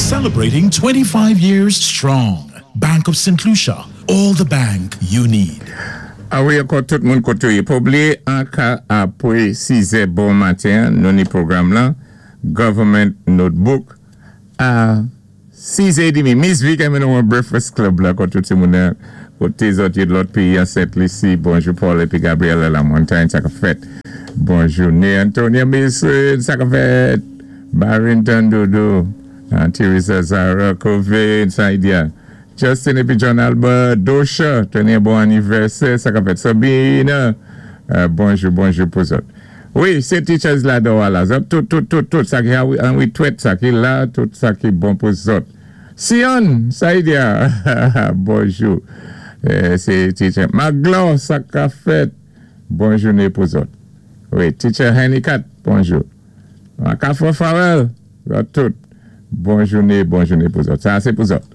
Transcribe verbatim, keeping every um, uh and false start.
Celebrating twenty-five years strong. Bank of Saint Lucia, all the bank you need. A wi, ankò tout moun koté. Pa bliyé, an ka apwé sizè bon maten, nou ni pwogram lan, Government Notebook, a sizè édmi. Miss Vic enmen nou an Breakfast Club la, kot tout ti moun koté zòt yé lòt péyi an Sent Lisi. Bonjou Paul épi Gabriel La Montagne, sa ka fèt. Bonjou né Antonia Mason, sa ka fèt. Barrington Dodo, Teresa Zara, Covin, Saidia. Justin épi John Albert, Dosha, téné bon anivèsè, sa ka fèt. Sabine, bonjou, bonjou pou zòt. Wi, sé teachers la do la. Zòt, tout, tout, tout, tout, sa ki an wi twèt, sa ki la, tout sa ki bon pou zòt. Sion, Saidia, bonjou. Sé teacher. Maglo, sa ka fèt. Bon jouné pou zòt. Wi, teacher Hennikat, bonjou. Makafo Farel, zòt tout. Bon jouné, bon jouné pou zòt. Sa, sé pou zòt.